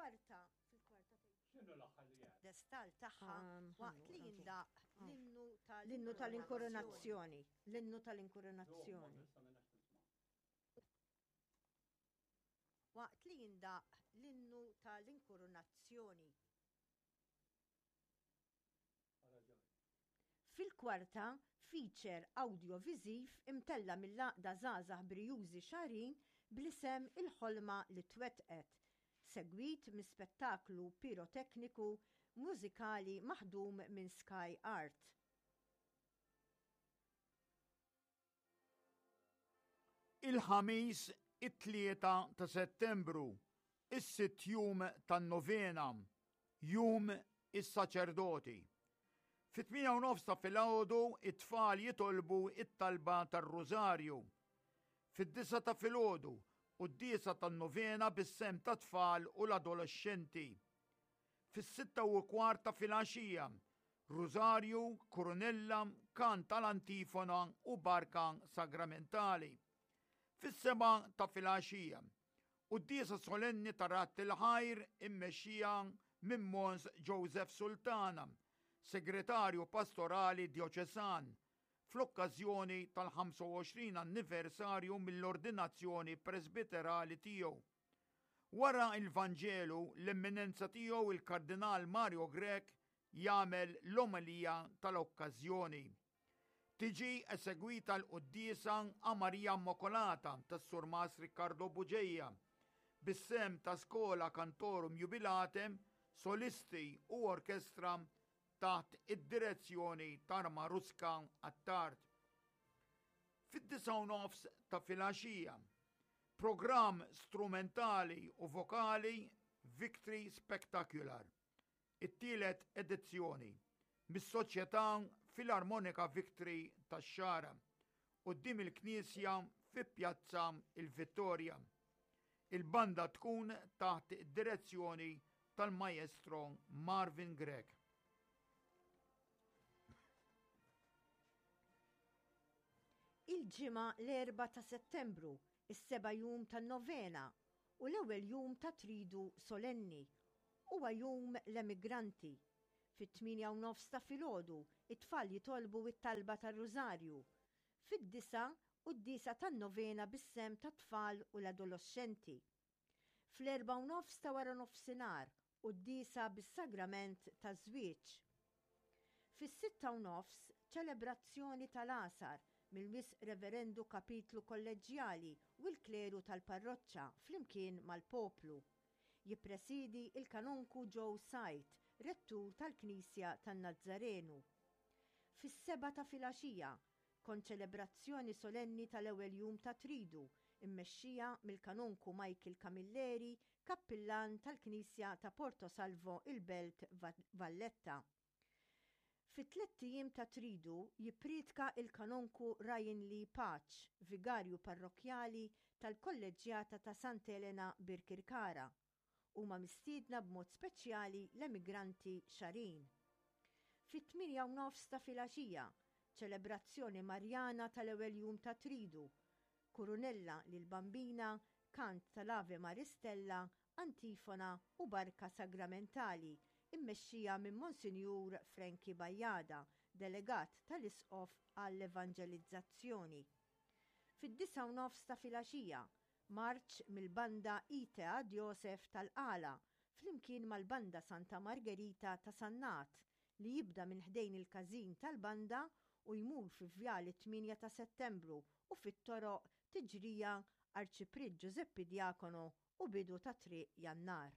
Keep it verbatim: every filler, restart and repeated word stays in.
Fil-kwarta, fil-kwarta X'inhu l-aħħar li għad? Destal tagħha Um, waqt li ħannu, jindaq l-innu L-innu tal-inkoronazzjoni. L-innu tal-inkoronazzjoni. Issa m'ilniex nisma'. Waqt li jindaq l-innu tal-inkoronazzjoni. Ara ġoj. Fil-kwarta, feature audiovisiv imtella mill-Għaqda Żgħażagħ Brijużi Xagħrin bl-isem Il-Ħolma li Twettqet, segwit minn spettaklu pirotekniku mużikali maħdum minn Sky Art. Il-Ħamis it-tlieta ta' Settembru, is-sitt jum tan-novena, jum is-saċerdoti. Fit-tmienja u nofs ta' filgħodu it-tfal jitolbu it-talba tar-Rużarju. Fid-disgħa ta' filgħodu quddiesa tan-novena bis-sehem tat-tfal u l-adolexxenti. Fis-sitta u kwart ta' filgħaxija, Rużarju, Kurunella, kant tal-antifona u barka sagramentali. Fis-sebgħa ta' filgħaxija, quddiesa solenni ta' Radd il-Ħajr immexxija minn Mons Joseph Sultana, Segretarju Pastorali Djoċesan, fl-okkażjoni tal-ħamsa u għoxrin anniversarju mill-ordinazzjoni presbiterali tiegħu. Wara il-Vanġelu, l-Eminenza tiegħu il-Kardinal Mario Grech jagħmel l-omelija tal-okkażjoni. Tiġi esegwita l-quddiesa a Maria Immacolata tas-Surmas Riccardo Bugeja, bis-sehem ta' Schola Cantorum Jubilatem, solisti u orkestra taħt id-direzzjoni ta' Maruska Attard. Fid-disgħa u nofs ta' filgħaxija, programm strumentali u vokali Victory Spectacular, it-tielet edizzjoni, mis-Soċjetà Filarmonika Victory tax-Xagħra, quddiem il-Knisja fi Pjazza il-Vittoria. Il-banda tkun taħt id-direzzjoni tal-Maestro Marvin Grech. Il-Ġimgħa l-erbgħa ta' Settembru, is-seba' jum tan-novena u l-ewwel jum ta' Tridu Solenni, huwa jum l-emigranti. Fit-tmienja u nofs ta' filgħodu, it-tfal jitolbu t-talba tar-Rużarju. Fid-disgħa, quddiesa tan-novena bis-sehem tat-tfal u l-adoloxxenti. Fl-erbgħa u nofs ta' wara nofsinhar, quddiesa bis-sagrament taż-żwieġ. Fis-sitta u nofs, ċelebrazzjoni tal-għasar mill-Wisq Reverendu Kapitlu Kolleġġjali u l-kleru tal-parroċċa flimkien mal-poplu. Jippresiedi il-Kanonku Joe Said, rettur tal-Knisja tan-Nazzarenu. Fis-sebgħa ta' filgħaxija, konċelebrazzjoni solenni tal-ewwel jum ta' Tridu, immexxija mill-Kanonku Michael Camilleri, kappillan tal-Knisja ta' Porto Salvo il-Belt Valletta. Fit-tlett ijiem ta' Tridu jippriedka il-Kanonku Ryan Lee Pace, vigarju parrokkjali tal-Kolleġġjata ta' Sant'Elena Birkirkara. Huma mistiedna b'mod speċjali l-emigranti Xagħrin. Fit-tmienja u nofs ta' filgħaxija, ċelebrazzjoni Marjana tal-ewwel jum ta' Tridu, Kurunella lill-Bambina, kant tal-Ave Maris Stella, antifona u barka sagramentali immexxija minn Monsinjur Frankie Bajada, delegat tal-Isqof għall-Evanġelizzazzjoni. Fid-disgħa u nofs ta' filgħaxija, marċ mill-banda Ite ad Josef tal-Qala flimkien mal-banda Santa Margherita ta' Sannat li jibda minn ħdejn il-każin tal-banda u jmur fi Vjal it-tmienja ta' Settembru u fit-toroq Tiġrija, Arċipriet Ġużeppi Diacono u bidu ta' Triq Jannar.